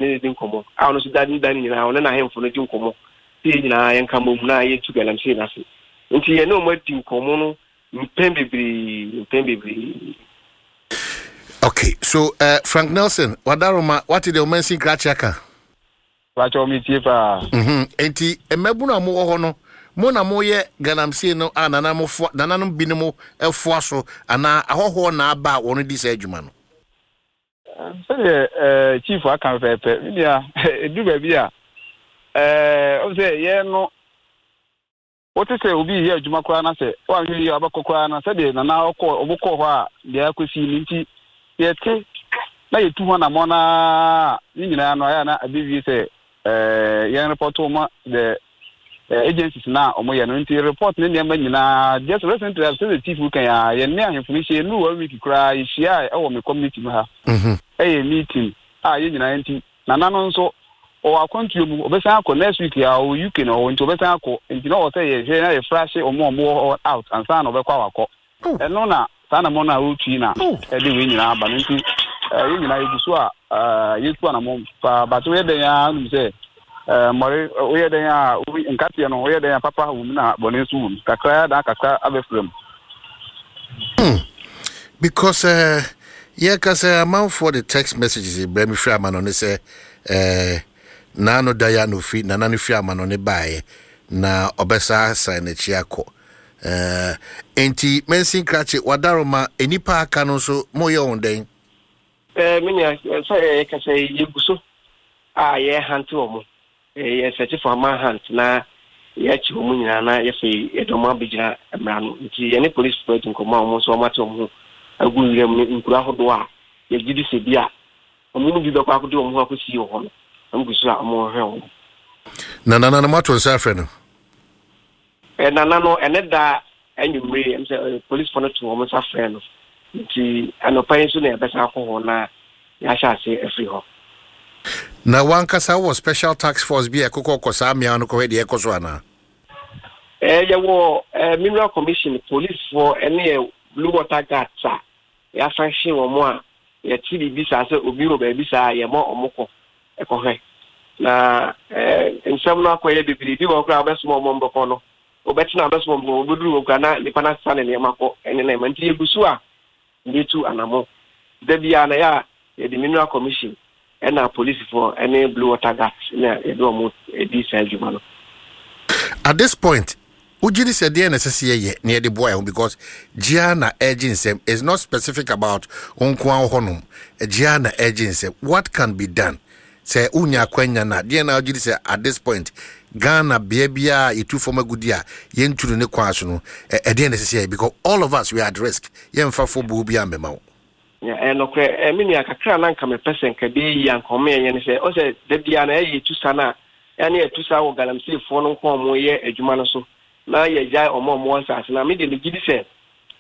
ne no di nkɔmmɔ, a ɔno nso da ne da no nyinaa ɔne n'ahemfo no di nkɔmmɔ sɛ yɛn nyinaa yɛnka mmom na yɛntu galamsey no ase. Nti yɛne wɔn adi nkɔmmɔ no mpɛn bebree, mpɛn bebree. Okay, so Frank Nelson, Wadaroma, wate deɛ ɔmansin krakye aka? Pakyɛw metie paa. Enti mmabunu a mowɔ hɔ no, mo na moyɛ galamsey no a nananom foa, nananom binom foa so anaa ahɔhoɔ na aba a wɔn di saa adwuma no? Sɛdeɛ chief aka pɛpɛɛpɛ, me nua, ɛduru baabi a, ɛɛ, sɛ yɛn no Wote sɛ obi reyɛ adwuma koraa na sɛ woanhwɛ yie a wobɛkɔ koraa na sɛdeɛ Nana ɔkɔɔ ɔmo kɔɔ hɔ a deɛ akɔsi no nti yɛte na yɛtu ho anammɔn ara a ne nyinaa no ayɛ a na abɛwie sɛ ɛɛ yɛn report ma the agencies no a ɔmo yɛ no nti report ne nneɛma nyinaa just recently as sɛdeɛ chief kan a yɛn ne ahemfo no hyia ɛnuru one week koraa yɛhyia ɛwɔ me community mu ha ɛyɛ meeting a yɛn nyinaa nti Nana no nso, ɔwɔ akwantuo mu, ɔbɛsan akɔ next week a, ɔwɔ UK na ɔwɔ nti ɔbɛsan akɔ, nti na ɔwɔ sɛ yɛhwɛ na yɛ frashe wɔn a wɔwɔ hɔ out ansa na ɔbɛkɔ a wakɔ. Ɛno na saa anamɔn no a ɔretu yi na ɛde wei nyinaa aba no nti yɛn nyinaa yɛgu so a yɛtu anamɔn paa but woyɛ dɛn ara wonim sɛ mmɔre woyɛ dɛn a nkateɛ no woyɛ dɛn a papa wɔ mu na bɔne nso wɔ mu kakra na kakra abɛfra mu. Because yɛka sɛ amanfoɔ de text messages brɛ me firi amanɔne sɛ eh, naano da ya na ofiri nana no firi amanɔne baeɛ na ɔbɛsa asan n'akyi akɔ eh, enti Mansin Krakye wadaroma nnipa aka no nso moyɛ wɔn dɛn? Eh, me nua, sɛ yɛka sɛ yɛgu so a yɛhante wɔn. Yɛ search for ama hunt na yɛakyi wɔn nyinaa na yɛfei yɛde wɔn abɛgyina mmara no. Nti yɛne polisfoɔ adi nkɔmmɔ a wɔn nso wɔate wɔn ho agu nwura mu ne nkuro ahodoɔ a yɛgye di sɛ bi a wɔn mu bi bɛkɔ akɔde wɔn ho akɔsie wɔ hɔ no, wɔn gu so a wɔrehwɛ wɔn. Na nana no moato nsa afrɛ no? Nana no, ɛnɛ da anwummere yi, ɛm sɛ polisfoɔ no too wɔn nsa frɛɛ no. Nti anɔpa yi nso na yɛbɛsan akɔ hɔ na yɛahyɛ ase afiri hɔ. Na w'ankasa wowɔ special task force bi a ɛkokɔ kɔ saa mmeawa no kɔhwɛ deɛ ɛrekɔ so anaa? Yɛwɔ Mineral Commission, polisfoɔ ne yɛ Blue Water Guards a yɛasanhye wɔn a yɛte biribi saa sɛ obi wɔ baabi saa a yɛma wɔn kɔ kɔhwɛ. Na nsɛm no akɔyɛ bebree. Bi wɔ hɔ koraa a wobɛsoma wɔn bɛkɔ no, wobɛtena wobɛsoma wɔn wɔbɛduru hɔ koraa na nnipa no asesa ne nneɛma kɔ ne nneɛma. Nti yɛgu so a yɛtu anammɔn. Da biara na yɛ a yɛde Mineral Commission ɛna polisifoɔ ne Blue Water Guards na yɛde wɔn di saa adwuma no. At this point, wogye di sɛ deɛn na ɛsɛ sɛ yɛyɛ na yɛde boa yɛn ho because gye ara na ɛregye nsɛm it's not specific about wo nko ara wɔ hɔnom gye ara na ɛregye nsɛm what can be done sɛ wonya akwanya no a deɛn na wogye di sɛ at this point Ghana bea biara a yɛtu fam agudi a yɛntu no ne kwan so no ɛdeɛn na ɛsɛ sɛ yɛyɛ because all of us we are at risk yɛmfa fɔbuo biara mmɛma wo. Ɛyɛ nokorɛ, me nua, kakra a na anka mepɛ sɛ nka ɛbɛyɛ yie anka wɔn yɛnyɛ ne sɛ, ɔn sɛ da biara na ɛyɛ yɛtu sa no a, ɛne yɛtu sa wɔ galamseyfoɔ no nko a wɔyɛ adwuma no so, na yɛgyae wɔn a wɔwɔ nsaase no a, me deɛ megye di sɛ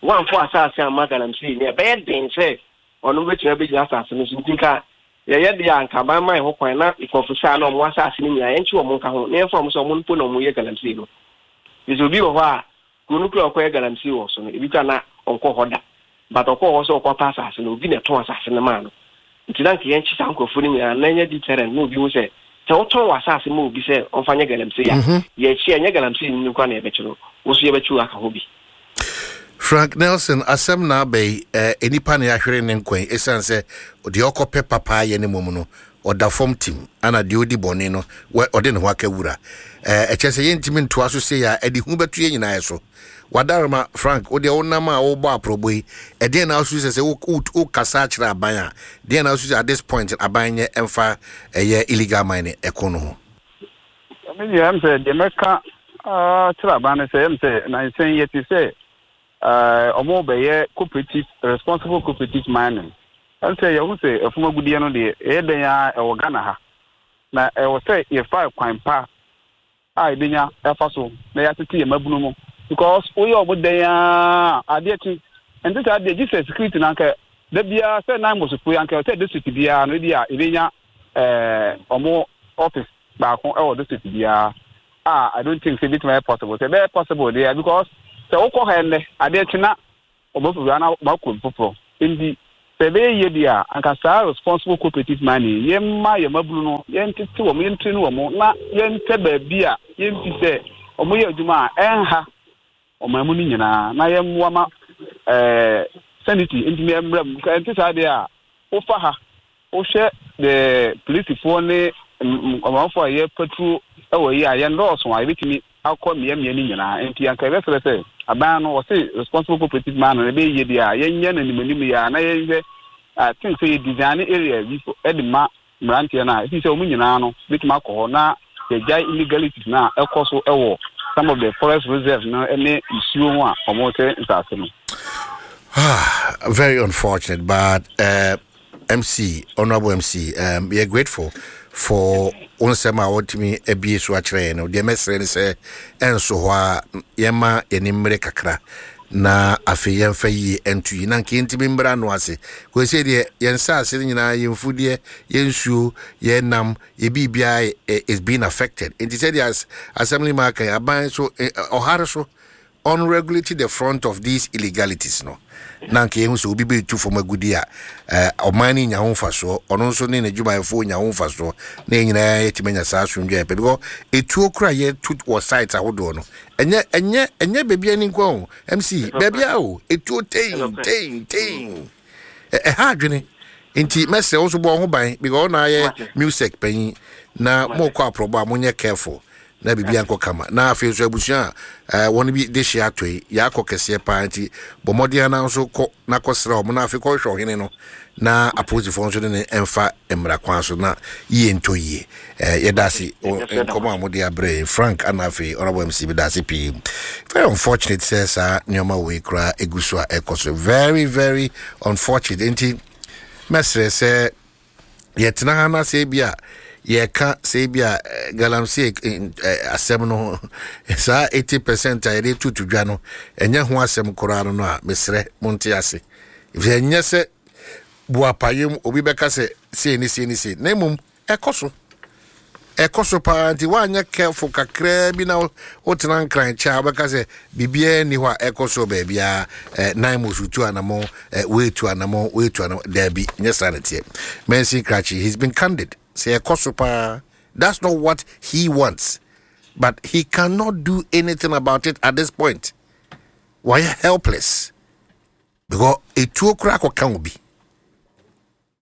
wɔamfa asaase amma galamsey no, ɛbɛyɛ den sɛ ɔno bɛtumi abɛgyina asaase no so. Nti nka yɛyɛ deɛ a anka aban ma yɛn ho kwan na nkurɔfo saa na wɔn asaase no nyinaa yɛnkye wɔn nka ho na yɛmfa wɔn sɛ wɔn mpo na wɔyɛ galamsey no. Ɛfiri sɛ obi wɔ hɔ a, Kuro no kura a ɔkɔyɛ galamsey wɔ so no, ebi koraa na ɔnkɔɔ hɔ da. But ɔkɔɔ hɔ sɛ ɔkɔpɛ asase no, obi na ɛtɔn asase no maa no. Nti na anka yɛnkye saa nkurɔfoɔ no nyinaa na ɛnyɛ deterrent na obi hu sɛ, sɛ wotɔn w'asase ma obi sɛ ɔmfa nyɛ galamsey a, yɛkye a, ɛnyɛ galamsey no nko ara na yɛbɛkye no, wo nso yɛbɛkye wo aka ho bi. Frank Nelson, asɛm na aba yi, eh, nnipa na yɛahwere ne nkwa yi, ɛsiane sɛ deɛ ɔkɔpɛ papa ayɛ no mmom no, ɔda fam tim, ana deɛ ɔdi bɔne no, ɔde ne ho aka wura. Eh, ɛkyɛ sɛ yɛntumi ntoa so sei a, ɛde hu bɛto yɛn nyinaa so. Wadaroma, Frank, wo deɛ wonam a wobɔ aprɔbɔ yi, ɛdeɛn na wosusu sɛ sɛ wokasa akyerɛ aban a, deɛn na wosusu sɛ at this point aban nyɛ ɛmfa ɛyɛ illegal mining ɛko no ho? Me deɛ ɛm sɛ deɛ mɛka kyerɛ aban no sɛ ɛm sɛ nansa yi yɛte sɛ ɔmo bɛyɛ cooperative responsible cooperative mining. Ɛm sɛ yɛho sɛ ɛfam agudeɛ no deɛ ɛyɛ dɛn ara ɛwɔ Ghana ha na ɛwɔ sɛ yɛfa kwan pa a yɛbɛnya ɛfa so na yɛatete yɛn mmabunu mu because woyɛ ɔmo dɛn ara adeɛ kye ɛnte saa deɛ gye sɛ security no anka da biara sɛ nan mɔsofo yi anka sɛ district biara no ebi a yɛbɛnya ɔmo office baako wɔ district biara a I don't think sɛ ebetumi ayɛ possible sɛ ɛbɛyɛ possible deɛ because sɛ wokɔ ha ɛnnɛ adeɛ kye na ɔmo afiri hɔ na ɔmo akɔ foforɔ nti. Sɛ ɛbɛyɛ yie deɛ a, anka saa responsible cooperative mining yi, yɛmma yɛn mmabunu no, yɛntete wɔn, yɛntrain wɔn, na yɛntɛ baabi a yɛmfi sɛ wɔyɛ adwuma a ɛnha ɔman mu no nyinaa, na yɛmmoa ma ɛɛ sanity ntumi mmra mu. Ɛnte saa deɛ a, wofa ha, wohwɛ the polisifoɔ ne ɔmanfoɔ a yɛ patrol wɔ yi a, yɛnnɔɔso a yɛbɛtumi akɔ mmeammea no nyinaa. Enti anka yɛbɛsrɛ sɛ aban no, wɔse responsible cooperative man no ɛbɛyɛ yie deɛ a, yɛnyɛ no animanim yi ara na yɛnhwɛ I think sɛ yɛ design area bi de ma mmeranteɛ no a, ɛfiri sɛ wɔn nyinaa no bɛtumi akɔ hɔ na yɛgyae illegalities no a ɛkɔ so wɔ some of the forest reserves no ne nsuo ho a wɔte nsase no. Ah, very unfortunate, but uh, MC, Honorable MC, um, we are grateful for wo nsɛm a wɔtumi abie so akyerɛ yɛn no. Deɛ mɛsrɛ ne sɛ ɛnso hɔ a yɛma yɛne mmere kakra na afei yɛmfa yie ɛnto yi na nka yɛntumi mmra no ase. Kɔsɛ deɛ yɛn nsaase no nyinaa yɛn mfudeɛ, yɛn nsuo, yɛn nam, yɛ biribiara is being affected. Nti sɛdeɛ asɛm no ma aka yi, aban so ɔhare so unregulate the front of these illegalities no na anka yɛhu sɛ obi bɛtu fam agudi a eh, ɔman no nya ho mfasoɔ, ɔno nso ne n'adwumayɛfoɔ nya ho mfasoɔ, na yɛn nyinaa yɛtumi anya saa asomdwoeɛ a yɛpɛ, because etuo kora yɛtu wɔ sites ahodoɔ no, ɛnyɛ ɛnyɛ ɛnyɛ baabi ani nko o, MC, baabi a o, etuo tein tein tein, ɛha adwene. Nti mɛsrɛ wo nso bɔ ho ban, because ɔna ayɛ music panyin na mokɔ aprɔbɔ a monyɛ careful na biribi ankɔ kama. Na afei nso abusua a eh, wɔn bi de hye atɔ yi yɛakɔ kɛseɛ paa, nti bɔ mmɔden ana nso kɔ na kɔsrɛ wɔn, na afei kɔhwehwɛ ɔhene no na apolisifoɔ nso ne ne mfa mmara kwan so na yie ntɔ yie. Eh, yɛda ase nkɔmɔ a mode abrɛ yɛn Frank, ana afei Honorable MC, meda ase pii. Very unfortunate sɛ saa nneɛma wei koraa egu so a ɛkɔ so, very very unfortunate. Nti mɛsrɛ sɛ yɛtena ha na sɛ ebi a yɛka sɛ ebi a eh, galamsey eh, eh, asɛm no saa 80% a yɛde tutu dwa no ɛnyɛ ho asɛm koraa no no a, mesrɛ monte ase, ɛfisɛ ɛnyɛ sɛ boapayɛ mu obi bɛka sɛ sei ne sei ne sei, na mmom ɛkɔ so, ɛkɔ so paa. Nti woanyɛ careful kakraa bi na wotena Nkran kyɛ a, wobɛka sɛ biribiara nni hɔ a ɛkɔ so baabiara, eh, nan mu so tu anamɔ, eh, woetu anamɔ, woetu anamɔ. Daabi, nyɛ saa na teɛ. Mansin Krakye, he's been candid sɛ ɛkɔ so paa. That's not what he wants, but he cannot do anything about it at this point. Wayɛ helpless because etuo koraa kɔka obi.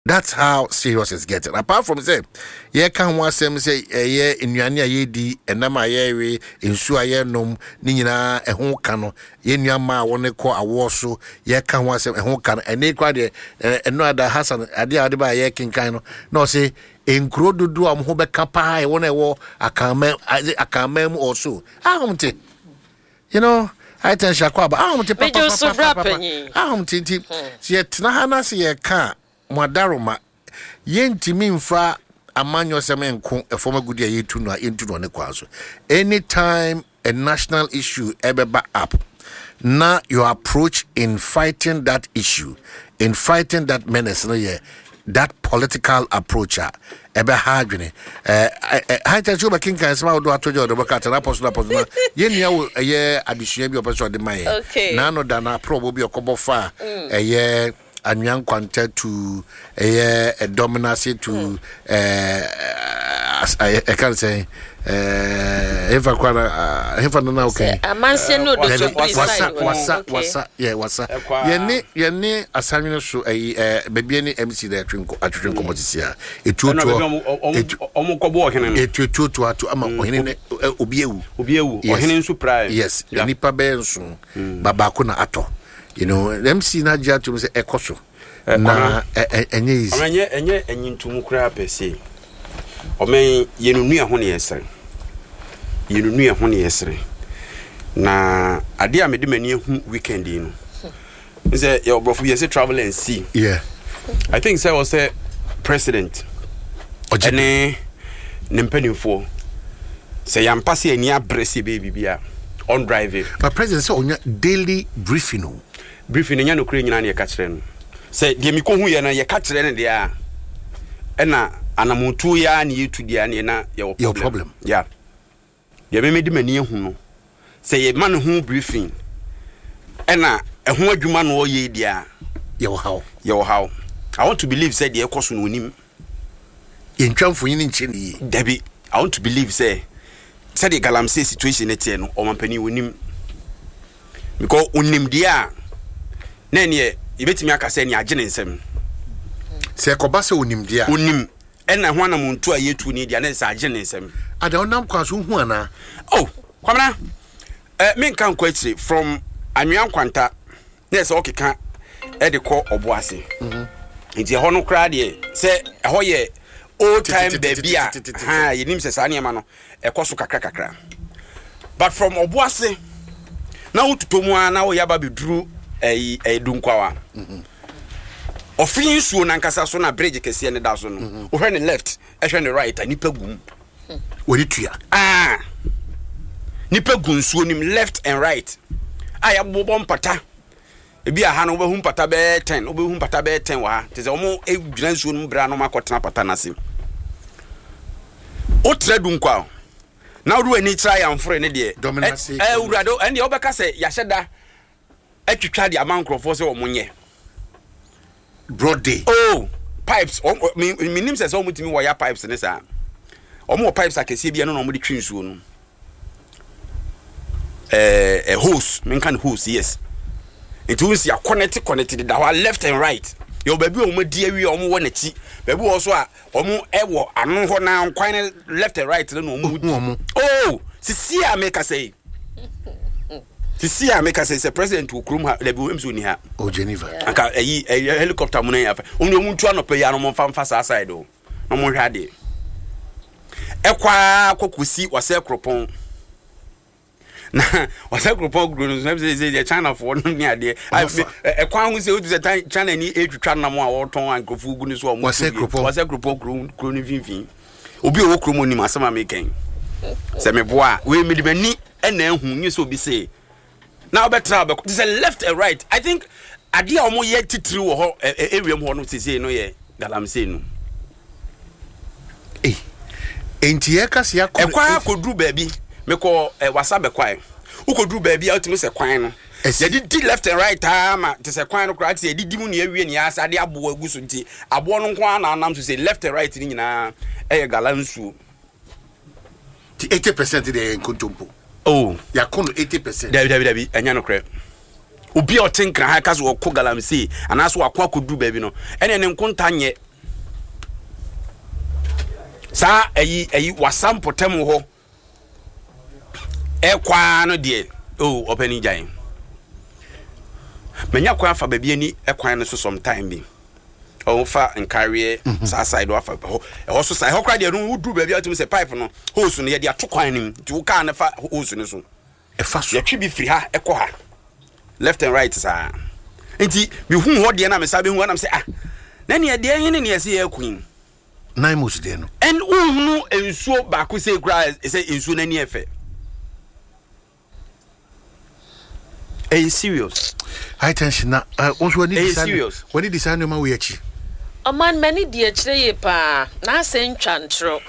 That's how serious it's getting. Apart from sɛ yɛka ho asɛm sɛ ɛyɛ nnuane a yɛdi, ɛnam a yɛwe, nsuo a yɛnom, ne nyinaa ɛho ka no, yɛn nua mmaa a wɔn kɔ awoɔ so, yɛka ho asɛm ɛho ka no. Ɛne kora deɛ ɛno ada Hassan adeɛ a ɔde ba a yɛkenkan no, na ɔse nkuro dodoɔ a wɔn ho bɛka paa ɛwɔ no ɛwɔ Akanman, Akanman mu ɔso. Ahom te. You know, high tension akɔ aba. Ahom te papapapapa. Ahom te nti sɛ yɛtena ha na sɛ yɛka a mo adaroma yɛntumi mfa amanyɔsɛm nko ɛfam agudi a yɛtu no a yɛntu no ne kwan so. Anytime a national issue ɛbɛba up na your approach in fighting that issue, in fighting that menace no yɛ that political approach a, ɛbɛha adwene. High tension wobɛkenkan nsɛm ahodoɔ ato gya ɔde bɛka atena apɔ so no apɔ so na yɛnnua wo ɛyɛ adesua bi a ɔpɛ sɛ ɔde ma yɛn. Naano da no aprɔbɔ bi ɔkɔbɔ fa a ɛyɛ anwea nkwanta tu ɛyɛ ɛdɔm no ase tu ɛka no sɛn, hefa kora na hefa no na woka yi amanseɛ ne odotobiri. Wasa wasa wasa yɛ wasa yɛne yɛne asanwene so ɛyi ɛɛ baabi ne MC na ɛtwe nkɔ atwetwe nkɔmɔ sisi a etuotuo etu ɔmo kɔbɔ ɔhene no etu etuotuo ato ama ɔhene ne obi ewu. Obi ewu, ɔhene nso pirae. Yes, nipa bɛyɛ nson ba baako na atɔ. MC na agye atum sɛ ɛkɔ so na ɛnyɛ easy. Ɛnyɛ ɛnyɛ ɛnyintumu koraa pɛ se ɔmɛn yɛn nua ho ne yɛsere, yɛn nua ho ne yɛsere, na adeɛ a mede m'ani ahu weekend yi no sɛ yɛ ɔbrɔfo bi yɛsɛ travel and see. Yeah. I think sɛ ɔsɛ president ɛne ne mpanimfoɔ sɛ yɛampa sɛ ani abrɛ sɛ ɛbɛyɛ biribi a on drive it. But president sɛ ɔnya daily briefing o. Briefing no nyɛ nokorɛ nyinaa na yɛka kyerɛ no. Sɛ deɛ mekɔhu yɛ no yɛka kyerɛ no deɛ a, ɛna anamontuo yi ara na yɛtu deɛ a neɛ na yɛwɔ problem. Yeah. Deɛ me mede m'ani ahu no, sɛ yɛma no ho briefing ɛna ɛho adwuma na ɔyɛ yi deɛ a, yɛwɔ haw. Yɛwɔ haw. I want to believe sɛ deɛ ɛkɔ so no onim. Yɛntwa mfonyin nkyerɛ no yie. Dabi, I want to believe sɛ sɛdeɛ galamsey situation no teɛ no ɔmampanin onim. Because onim deɛ a na ɛneɛ yɛbɛtumi aka sɛ ɛneɛ agye ne nsam. Sɛ ɛkɔba sɛ onim deɛ a. Onim ɛna ho anamontu a yɛtu ne deɛ na ɛsɛ agye ne nsam. Ada ɔnam kwan so wohu anaa? Oh, Kwamina, eh, menka nkɔ akyire from Anwea Nkwanta na ɛsɛ ɔkeka de kɔ ɔbo ase mhm. nti ɛhɔ no koraa deɛ sɛ ɛhɔ yɛ old time baabi a ha yɛnim sɛ saa nneɛma no ɛkɔ so kakra kakra but from ɔbo ase na wototɔ mu a na woyɛ aba bɛduru ɛyi ɛyi dunkwawa mhm. ɔfe nsuo nankasa so na bridge kɛseɛ ne da so no mhm. wohwɛ ne left ɛhwɛ ne right a nipa gum wɔde tua ah nipa gu nsuo nim left and right a yɛabobɔ mpata ebi aha no wobɛhu mpata bɛyɛ ten wobɛhu mpata bɛyɛ ten wɔ ha te sɛ wɔn gyina nsuo no mu berɛ a na wɔn akɔtena pata no ase wotra du nkwa na wode w'ani kyerɛ ayamfore ne deɛ ɛwurade ɛndeɛ wobɛka sɛ yɛahyɛ da atwitwa de ama nkurɔfoɔ sɛ wɔn nyɛ. Broad day. Oh pipes wɔn mi mi nim sɛ sɛ wɔn tumi wɔya pipes ne saa wɔn wɔ pipes akɛseɛ bi ɛno na wɔn de twi nsuo no ɛɛ ɛ hose mi nka no hose yes nti wɔn si akɔnɛte kɔnɛte deda hɔ left and right yɛ wɔ baabi a wɔn adi awie a wɔn wɔ n'akyi baabi wɔ so a wɔn ɛwɔ ano hɔ na kwan no left and right no na wɔn di oh sisi a mi kasa yi. Sisi a meka sɛ sɛ president wɔ kurom ha dabi wɔn nso ni ha. O Geneva. Anka ɛyi ɛyɛ helicopter mu na yɛ afa. Wɔn deɛ wɔn ntu anɔpɛ yi ano wɔn nfa nfa saa side o na wɔn hwɛ adeɛ. Ɛkɔ ara kɔ kɔsi wɔsɛ kuropɔn. Na wɔsɛ kuropɔn kuro no so ɛbi sɛ sɛ China foɔ no ne adeɛ. Ɛkwan ho sɛ otu sɛ China ni etwitwa nam a wɔtɔn a nkurɔfoɔ gu ne so a wɔn wɔsɛ kuropɔn wɔsɛ kuropɔn kuro kuro no mfimfini. Obi a ɔwɔ kurom onim asɛm a meka yi. Sɛ meboa a wei mede m'ani ɛna ehu nye sɛ obi se na wobɛtra wobɛkɔ te sɛ left and right i think adeɛ a wɔyɛ titiri wɔ hɔ area mu hɔ no sesei no yɛ galamsey no enti yɛka sɛ yɛakɔ ɛkwan akɔduru baabi mekɔ ɛ wasa bɛkwae wokɔduru baabi a wotumi sɛ kwan no yɛde di left and right aa ma te sɛ kwan no koraa te sɛ yɛde di mu ne awie ne yɛasa de aboɔ agu so nti aboɔ no nko ara na anam so sɛ left and right no nyinaa ɛyɛ gala nsuo Ti 80% deɛ yɛ nkontompo. Oh. Yɛako no 80%. Dabi dabi dabi ɛnyɛ nokorɛ. Obi a ɔte nkran ha ka sɛ ɔko galamsey anaasɛ wako akɔduru baabi no ɛne ne nkonta nyɛ saa ɛyi ɛyi wasa mpɔtam hɔ ɛkɔ ara no deɛ oh ɔpɛni gyae manya kwan afa baabi ani ɛkwan no so sometime bi. Ɔfa nkareɛ mhm. saa side wafa ɛhɔ ɛhɔ so saa ɛhɔ koraa deɛ no woduru baabi a wotumi sɛ pipe no hose no yɛde ato kwan no mu nti wo kaa no fa hose no so ɛfa so yɛtwe bi firi ha ɛkɔ ha left and right saa nti mehu hɔ deɛ na mesa bɛhu anam sɛ ah na neɛ deɛ hene neɛ sɛ yɛako yi Naimos deɛ no ɛn wohunu nsuo baako sɛ koraa sɛ nsuo no ani ɛfɛ Ɛyɛ serious. High tension na eh, wo nso w'ani di Ɛyɛ saa serious. w'ani di saa nneɛma wei akyi. Ɔman m'ani di akyire yie paa n'asɛm ntwa ntorɔ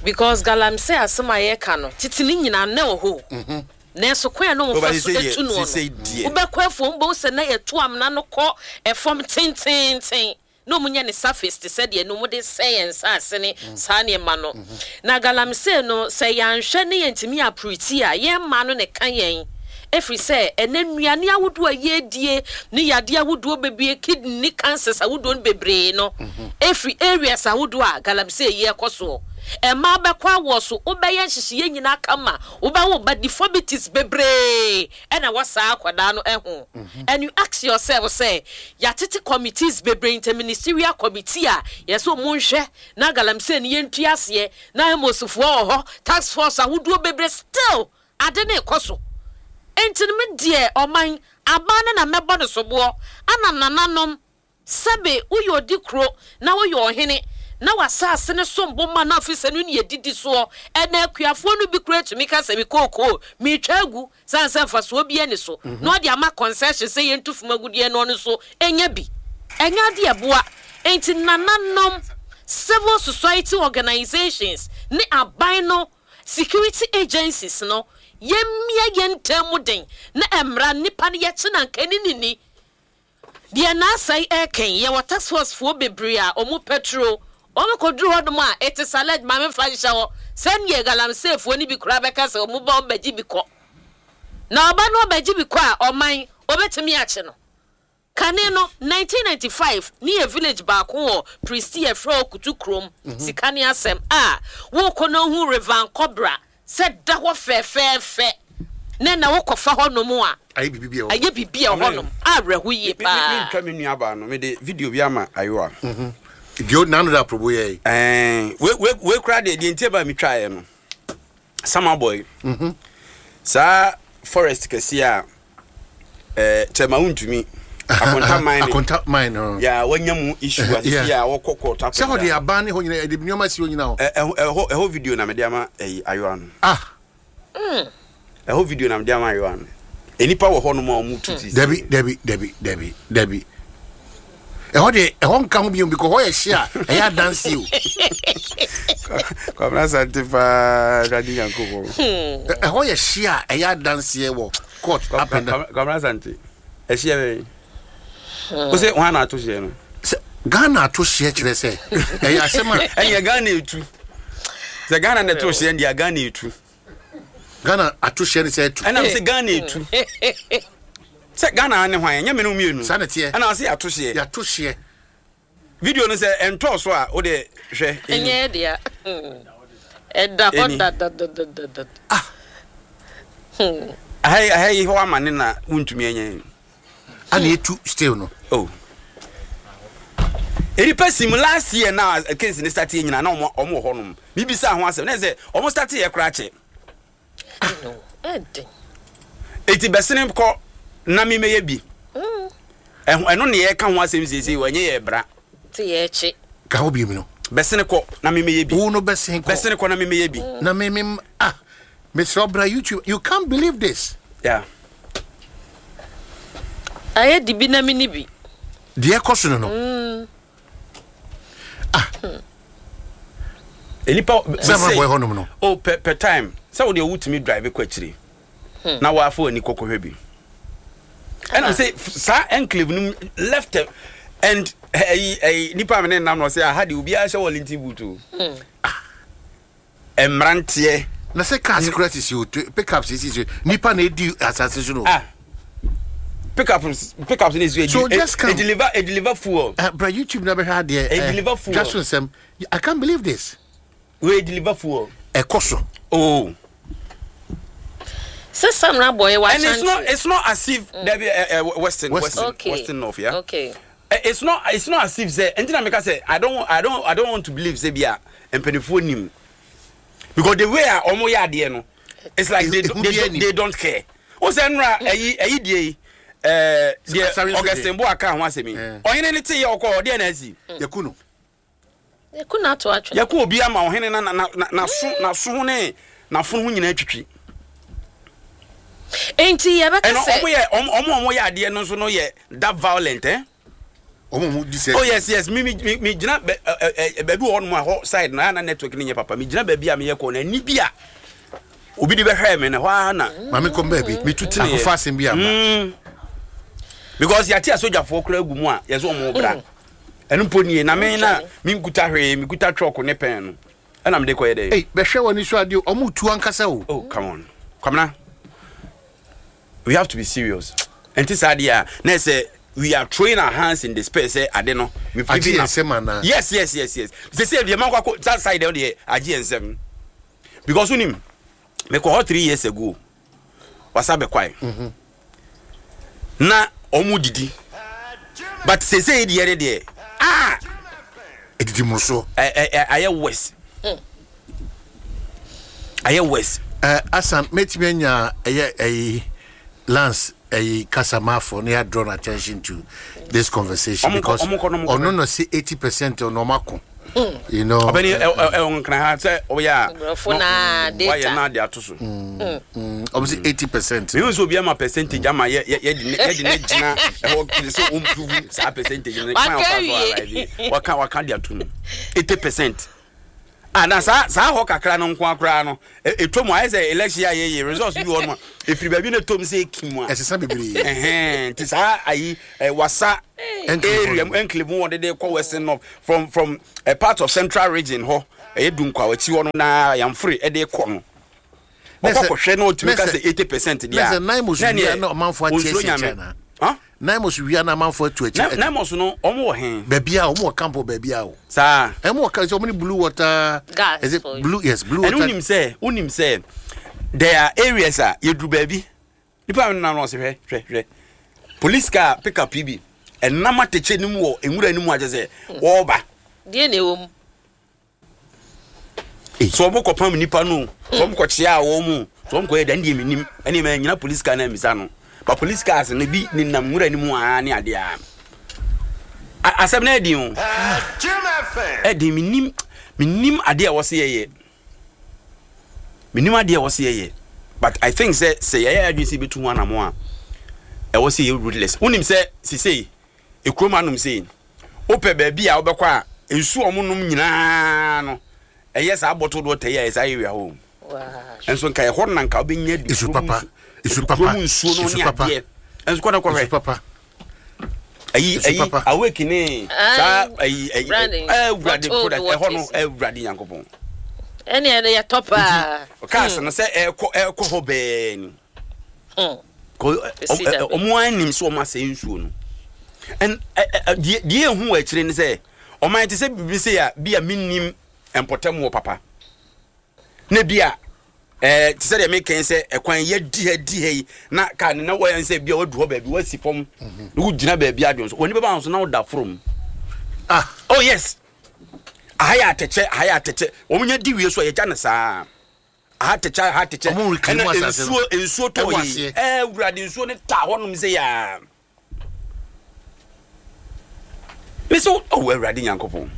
because galamsey asɛm a yɛka no tete no nyinaa na ɛwɔ hɔ o nanso kwan a na Oba wɔfa so sesei deɛ tu noɔ sesei no deɛ. wobɛkɔ afuom wobɛhu sɛ na yɛto amena no kɔ ɛfam tenteenten na wɔnya ne surface te sɛ deɛ no wɔde sɛe yɛn nsaase ne saa nneɛma no. Na galamsey no, sɛ yɛanhwɛ ne yɛntumi apriti a, yɛn mmaa no na ɛka yɛn. Ɛfiri sɛ ɛnnɛ nnuane ahodoɔ a yɛredie ne yadeɛ ahodoɔ bebree, kidney ne cancers ahodoɔ no bebree no, ɛfiri areas ahodoɔ a galamsey yi ɛkɔ soɔ. Mmaa bɛkɔ awoɔ so, wobɛyɛ nhyehyeɛ nyinaa kama, wobɛwo ba, deformities bebree ɛna wɔ saa akwadaa no ho and you ask yourself sɛ yɛatete committees bebree interministerial committee a yɛsɛ ɔmo nhwɛ na galamsey no yɛntu aseɛ na Amos foɔ wɔ hɔ task force ahodoɔ bebree still ade no rekɔ so nti no me deɛ ɔman aban no na mɛbɔ no soboɔ ana nananom Sɛbe woyɛ odikuro na woyɛ ɔhene, na w'asaase no som bo ma no afe sɛ no ne yɛdidi soɔ. Ɛnnɛ akuafoɔ no bi koraa tumi ka sɛ me kookoo meretwa agu sane sɛ mfasoɔ biara nni so, na ɔde ama concession sɛ yɛntu fam agudeɛ na ɔno nso nya bi. Ɛnyɛ adeɛ a ɛboa. Enti nananom, civil society organisations ne aban no security agencies no, yɛmmia yɛn ntam mu den na ɛmmra nnipa no yɛkye no anka ɛne no nni. Deɛ Naasai ɛreka yi, yɛwɔ task force foɔ bebree a wɔn pɛtro, wɔn kɔduru hɔ nom a, it is alleged, ma me nfa nhyɛ hɔ, sɛdeɛ galamsey foɔ no bi koraa bɛka sɛ wɔn ba wɔn bɛgye bi kɔ. Na ɔba no ɔbɛgye bi kɔ a, ɔman, wɔbɛtumi akye no. Kane no, 1995, ne yɛ village baako wɔ Pristi yɛfrɛ hɔ Kutu kurom, sika ne asɛm a, wokɔ na wohu River Nkɔbra sɛ da hɔ fɛfɛɛfɛ na na wokɔfa hɔnom a, Ayɛ biribi bi a ɛwɔ ayɛ biribi a ɛwɔ hɔnom awerɛho yie Me, me, paa. mentwa me nuabaa no, mede video bi ama Ayowa. Deɛ n'ano da aprobo yɛ yi. Ɛɛ, wei, wei, wei koraa deɛ, deɛ nti a ɛbaa metwaeɛ no, Sama boy, saa forest kɛseɛ a, ɛɛ, kyɛma wontumi, Akonta mine, Akonta mine no. ya wanya mu issue a sisi a wɔkɔ court up Sɛ and hɔ de down. aban ne hɔ nyinaa ɛde nneɛma si hɔ nyinaa hɔ. Ɛ- ɛhɔ ɛhɔ ɛhɔ video na mede ama ɛyi Ayowa no. Ah. Ɛhɔ video na mede ama Ayowa no. Nnipa wɔ hɔnom a wɔn tu ti. Dabi dabi dabi dabi dabi. Ɛhɔ de ɛhɔ nka ho bio because hɔ yɛ hye a ɛyɛ adanse o. Kwabena Asante paa Awurade Nyankopɔn. Ɛhɔ yɛ hye a ɛyɛ adanseɛ wɔ court up and down. Kwabena Asante ɛhyeɛ bɛn? Wo sɛ hwan na ato hyeɛ no? Sɛ Ghana ato hyeɛ kyerɛ sɛ ɛyɛ asɛm a. Ɛnyɛ Ghana etu. Sɛ Ghana na ɛto hyeɛ deɛ Ghana etu. Ghana ato hyeɛ ne sɛ ɛtu. Ɛna sɛ Ghana etu. Sɛ Ghana ne hwan ɛnyɛ me ne wo mmienu. Saa na ɛteɛ. Ɛna sɛ yɛato hyeɛ. Yɛato hyeɛ. Video no sɛ ɛntɔɔ so a wo deɛ hwɛ. Ɛnyɛ yɛ dea. Ɛda hɔ dadadadadada. Ah. Aha yi aha yi hɔ ama ne na wontumi ɛnyɛ. Ana etu still no. Oh. Nipa sim last year na case ne start yɛ nyina na ɔmo ɔmo wɔ hɔ nom. Bibisa ho asɛm na sɛ ɔmo start yɛ koraa kyɛ. Eti bɛsene kɔ na me mɛyɛ bi. Ɛno ne yɛka ho asɛm seesei wɔ ɛnyɛ yɛ bra. Te yɛ kye. Ka ho bi no. Bɛsene kɔ na me mɛyɛ bi. Wo no bɛsene kɔ. Bɛsene kɔ na me mɛyɛ bi. Na me me ah mesrɛ bra YouTube you can't believe this. Yeah. Ayɛ di bi na me ni bi. Deɛ ɛkɔ so no no. Ah. Nipa sɛ ma bɔ ɛhɔ nom no. Oh per per time sɛ wo deɛ wotumi drive kɔ akyire na wafa w'ani kɔkɔhwɛ bi. Ɛna sɛ saa enclave no left and ɛyi ɛyi nipa mi ne nam na ɔsɛ aha deɛ obiara hyɛ Wellington boot o. Mmeranteɛ. Na sɛ cars kura sisi o pickups sisi nipa na edi asase so no. Ah pickup pickups ne esi so just come e deliver e deliver fuel. Bra YouTube na bɛhwɛ adeɛ. E deliver fuel. Dwa so nsɛm I can't believe this. We deliver fuel. Ɛkɔ so. Oh. Sɛ Samra boy wa And it's not it's not as if mm. there be Western Western okay. Western North yeah. Okay. It's not it's not as if say nti na meka sɛ I don't I don't I don't want to believe sɛ bi a mpanimfoɔ nim because the way a wɔn yɛ adeɛ no it's like they they, they, they don't care. O sɛ nnura ɛyi ɛyi die yi ɛɛ deɛ Augustine Boa ka ho asɛm yi ɔhene ne te yɛ ɔkɔ ɔdeɛ na asi. Yɛku no. Yɛku no ato atwene. Yɛku obi ama ɔhene na na na n'aso n'aso ho ne n'afono ho nyinaa twitwi. Enti yɛbɛka Ɛna sɛ. ɔmo yɛ ɔmo ɔmo a ɔmo yɛ adeɛ no nso no yɛ that violent eh. Ɔmo ɔmo di sɛ. Oh yes yes mi mi mi mi gyina bɛ ɛ ɛ baabi wɔ hɔnom a hɔ side no ayɛ na network no nyɛ papa mi gyina baabi a meyɛ kɔ na ani bi a obi de bɛhwɛɛ me no hɔ ara na. Maame kɔm baabi. Mi tu tene yɛ. Akɔfa asɛm bi aba. Mm. Because yɛate asogyafoɔ koraa gu mu a yɛsɛ ɔmo bra. Ɛno mpo nie na me na me nkuta hwee me kuta chalk ne pen no ɛna mede kɔyɛ dɛ. Ei bɛhwɛ w'ani so adeɛ o ɔmo tu ankasa o. Oh come on Kwamina we have to be serious ɛnti saa deɛ a na ɛsɛ we are throwing our hands in despair sɛ ade no we've Agye given yɛn up. nsam anaa? Yes yes yes yes sɛ sɛ deɛ mankɔ akɔ that side deɛ agye yɛn nsam because wonim mekɔ hɔ 3 years ago wasa bɛkwae mm-hmm. na ɔmo didi but sese yi deɛ ne deɛ ah edidi mu so ɛ ɛ ayɛ worse ayɛ worse. Ɛ asan mɛtumi anya ɛyɛ ɛyi lance ɛyi kasamafo ne yɛ draw attention to this conversation because ɔno na se 80% ɔno ɔmo ako. You know. Ɔbɛni ɛ ɛ ɛ nkran ha sɛ ɔyɛ a. Nkurɔfo na data. Wayɛ na de ato so. Ɔmo sɛ 80%. Mehu sɛ obi ama percentage ama yɛ yɛ yɛde ne yɛde ne gyina ɛhɔ kiri sɛ wɔn prove saa percentage no kwan a ɔfa so arrive waka waka de ato mu 80% a. Ah, na saa saa hɔ kakra no nko ara koraa no, ɛtɔ mu ayɛ sɛ election a yɛyɛ results bi wɔ no a, ɛfiri baabi na ɛtɔ mu sɛ ɛkim a. Ɛsesa bebree. Ɛhɛn, nti saa ayi wasa area mu enclave mu wɔde de kɔ western north from from a part of central region hɔ ɛyɛ Dunkwa akyi hɔ no na Yamfore ɛde kɔ no. Ɔkɔ kɔhwɛ na ɔtumi ka sɛ 80% deɛ a. Na sɛ Naimos wia na ɔmanfoɔ ate asi akyɛ anaa? Naimos wia na amanfoɔ atu akyi. Naimos no wɔn wɔ he? Baabi a wɔn wɔ camp wɔ baabi a o. Saa. Wɔn wɔ camp sɛ wɔn ne blue water. Gas. Is it blue? Yes, blue water. Ɛna wonim sɛ wonim sɛ there are areas a yɛduru baabi nipa mi nam na ɔsɛ hwɛ hwɛ hwɛ police car pick up yi bi ɛnam atɛkyɛ no mu wɔ nwura no mu akyɛ sɛ wɔreba. Deɛ na ɛwɔ mu. So wɔn kɔpam nipa no so wɔn kɔkyea wɔn mu so wɔn kɔyɛ dan deɛ menim ɛne mɛ nyina police car na misa no ba police cars no bi nenam nwura no mu aa ne adeɛ a asɛm no ɛdin o ɛdin menim menim adeɛ a wɔse yɛyɛ menim adeɛ a wɔse yɛyɛ but I think sɛ sɛ yɛyɛ adwene sɛ yɛbɛtu ho anamo a ɛwɔ sɛ yɛ ruthless wonim sɛ sesei Ekurom anom sei, wopɛ baabi a wobɛkɔ a nsuo a wɔnom nyinaa no, ɛyɛ saa bottled water yi a ɛyɛ saa area hɔ o. Nso nka ɛhɔ na nka wobɛnya du Nsu papa, nsu papa, kurom nsuo no nsu ne papa. adeɛ. Nso kɔ na kɔhwɛ. Nsu papa. Ayi Nsu ayi papa. awake ne saa ayi ayi Branding, ɛwurade bottled product ɛhɔ no waters. ɛwurade Nyankopɔn. Ɛne ɛno yɛtɔ paa. Cars no sɛ ɛkɔ ɛkɔ hɔ bɛɛ ni. Hmm. Wɔn ara nim sɛ wɔn asɛe nsuo no. And deɛ deɛ ehu wɔ akyire ne sɛ ɔman te sɛ biribi sɛ a bi a mennim mpɔtam wɔ papa. Na bi a ɛɛ te sɛ deɛ mekɛn sɛ ɛkwan yɛ di ha di ha yi na kaa ne na wɔyɛ sɛ bi a wadu hɔ baabi wasi fam na wogyina baabi adwene so wɔn nipa ba so na woda foro mu. Ah. Oh yes. Aha yɛ atɛkyɛ aha yɛ atɛkyɛ wɔn nya di wie so a yɛgya no saa. Aha atɛkyɛ aha atɛkyɛ. Ɔmo reclaim Ɛna asase no. nsuo nsuo tɔ Ɛwɔ yi. aseɛ. Ɛɛ wurade nsuo ne taa hɔnom sɛ yaa. Mesi wo oh awurade nyankopɔn.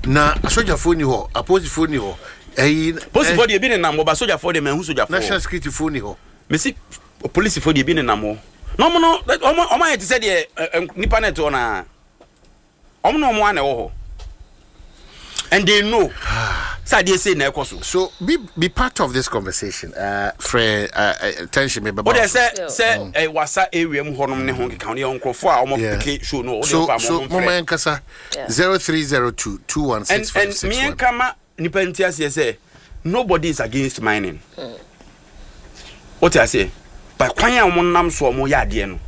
Na asogyafoɔ ni hɔ, apolisifoɔ ni hɔ, ɛyi. Polisifoɔ deɛ ebi nenam hɔ ba sogyafoɔ deɛ manhu sogyafoɔ. National securityfoɔ ni hɔ. Mesi polisifoɔ deɛ ebi nenam hɔ. Na ɔmo no ɔmo ɔmo ayɛ te sɛ deɛ ɛ ɛ nipa na ɛte hɔ naa. Wɔn na wɔn ara na ɛwɔ hɔ. And they know sɛ adeɛ sei na ɛkɔ so. So be be part of this conversation. Uh, frɛ uh, uh, tension me bɛba. O de sɛ sɛ mm. wasa area mu hɔnom ne ho nkeka ho yɛ nkurɔfoɔ a wɔn peke show no o de ɔfa so wɔn mama frɛ. yɛn kasa 0302 216561. And and me kama Nipa nte aseɛ sɛ nobody is against mining. Wote aseɛ? But kwan a wɔn nam so a wɔn yɛ adeɛ no,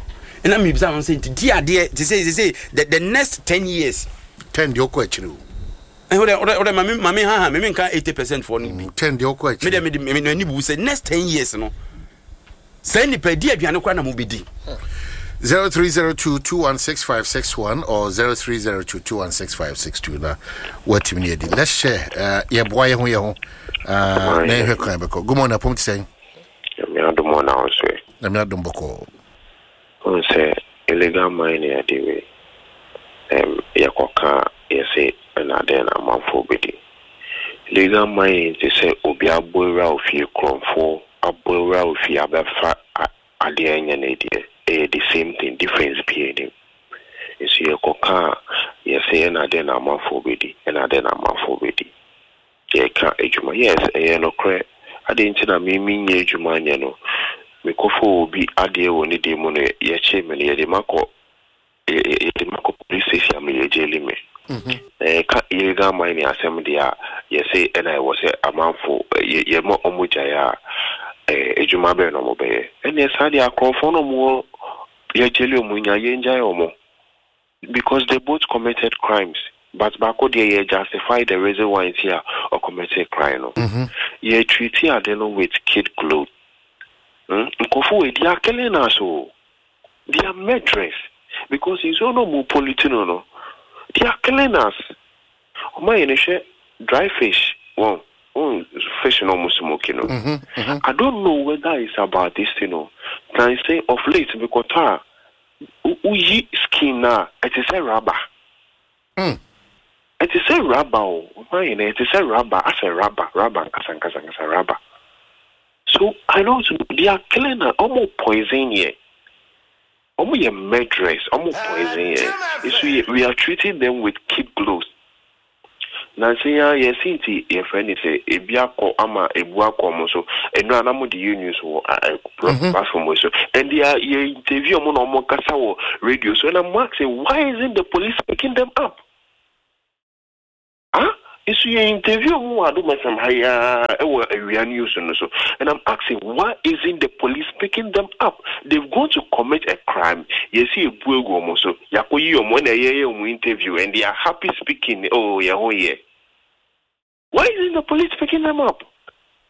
ɛna mibisa wɔn sɛ nti di adeɛ te sɛ sɛ the the next 10 years. 10 deɛ ɔkɔ akyire o. Ɛhɔ dɛ ɔdɛ ɔdɛ maame maame ha ha mimi nka 80% foɔ no bi. 10 deɛ ɔkɔ akyire. Mi dɛ mi de mi n'ani bu sɛ next 10 years no saa nipa di aduane koraa na mo bɛ di. 0302 216561 or 0302 216562 na watumi ne adi. Let's share. Yɛboa yɛ ho yɛ ho na yɛhwɛ kwan bɛkɔ. Good morning, apom te sɛn? Nyame adom ɔ na wo nso ɛ? Nyame adom bɔkɔɔ. Wohu sɛ illegal mining ade wei ɛm yɛkɔka a yɛse ɛna dɛn na amanfoɔ bɛdi. Illegal mining te sɛ obi abɔ awura wo fie, korɔmfoɔ abɔ awura wo fie abɛfa adeɛ a ɛnyɛ ne deɛ. Ɛyɛ the same thing, difference biaa nnim. Nso yɛkɔka a yɛse ɛna dɛn na amanfoɔ bɛdi, ɛna dɛn na amanfoɔ bɛdi. Yɛka adwuma, yes ɛyɛ nokorɛ, adɛn nti na me menyɛ adwuma nyɛ no, mekɔfa obi adeɛ wɔ ne deɛ mu no yɛkyee me no yɛde makɔ yɛde makɔ police station ama yɛgyeli me. Na yɛka illegal mining asɛm deɛ a yɛse ɛna ɛwɔ sɛ amanfo yɛma ɔmo gyae a adwuma bɛn na ɔmo bɛyɛ. Ɛneɛ saa deɛ akorɔmfoɔ no ɔmo wɔ yɛgyeli ɔmo nya yɛngyae ɔmo. Because they both committed crimes but baako deɛ yɛ justify the reason why nti a ɔ committed crime no. Yɛ treat ade no with kid glove. Hmm nkurɔfo wei they are killing us o. They are murderers because nsuo no ɔmo pollute no no they are killing us. Ɔmo ayɛ no hwɛ dry fish wɔn wɔn fish no ɔmo smoke no. I don't know whether it's about this thing o. Tan sɛ of late mekɔtɔ a Woyi skin no a, ɛte sɛ rubber. Ɛte sɛ rubber o, ɔman yɛ no, ɛte sɛ rubber, asɛ rubber, rubber ankasa ankasa ankasa rubber. So I don't know, they are killing us, ɔmo poison yɛ. Ɔmo yɛ murderers, ɔmo poison yɛ. Nso yɛ, we are treating them with kid gloves. Nansa yi ara yɛse nti yɛfrɛ no sɛ ebi akɔ ama ebu akɔ ɔmo so. Ɛno a na mo de yɛ news wɔ platform wei so. And they are yɛ interview ɔmo na ɔmo kasa wɔ radio so and I'm asking why isn't the police picking them up? Ah nso yɛ interview ɔmo wɔ Adom FM ha yi ara ɛwɔ awia news no so and I'm asking why isn't the police picking them up? They've gone to commit a crime yɛsi ebu egu ɔmo so yɛakɔyi ɔmo ɛna yɛyɛ ɔmo interview and they are happy speaking oh yɛn ho yɛ. Why isn't the police picking them up?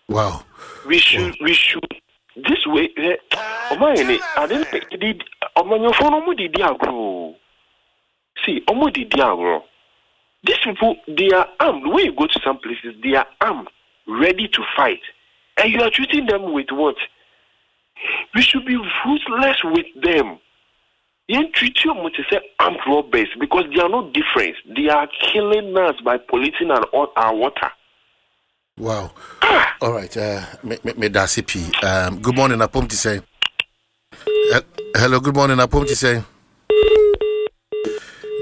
Wow. We should wow. we should this way eh, ɔmo ayɛ ne ade no di ɔmanyɔfoɔ no ɔmo de di agorɔ see ɔmo de di agorɔ these people they are armed when you go to some places they are armed ready to fight and you are treating them with what we should be ruthless with them Yɛn treat ɔmo te sɛ armed robbers because they are not different they are killing us by polluting our our water. Wow. Ah! All right. Me me me da ase pii. Good morning apom ti sɛn. Hello, good morning apom ti sɛn.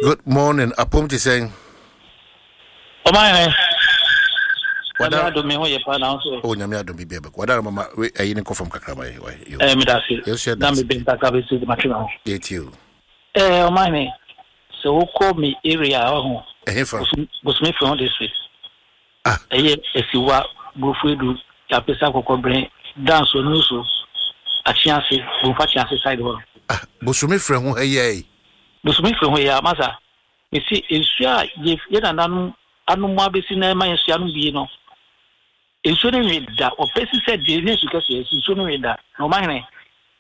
Good morning apom ti sɛn. Ɔman hɛ. Nyame adom me ho yɛ paa na nso. Oh Nyame adom biribi abɛkɔ. Wadara mama we ayi ne nkɔ fam kakra ma yɛ. Eh me da se. Na me bɛn kakra bɛ se ma twe me ho. Yɛ tie o. Eh ɔman hɛ. Sɛ wokɔ me area a ɔho. Ɛhe fa? Bosome fɛ ho district. Ah. Ɛyɛ Asiwa, Burofuedu, Yapesa Kɔkɔbrɛn, Danso, Nusu, Akyease, Bomfa Kyease side hɔ. Ah, Bosome frɛ ho ha yi ai. Bosome frɛ ho yi a, masa. Mese nsuo a yɛ yɛ nananom anom abɛsi na ɛma yɛn nso yɛanom bie no, nsuo no nwe da. Ɔpɛ si sɛ deɛ ɛnyɛ nsu kɛseɛ, nsuo no nwe da. Na ɔmahene,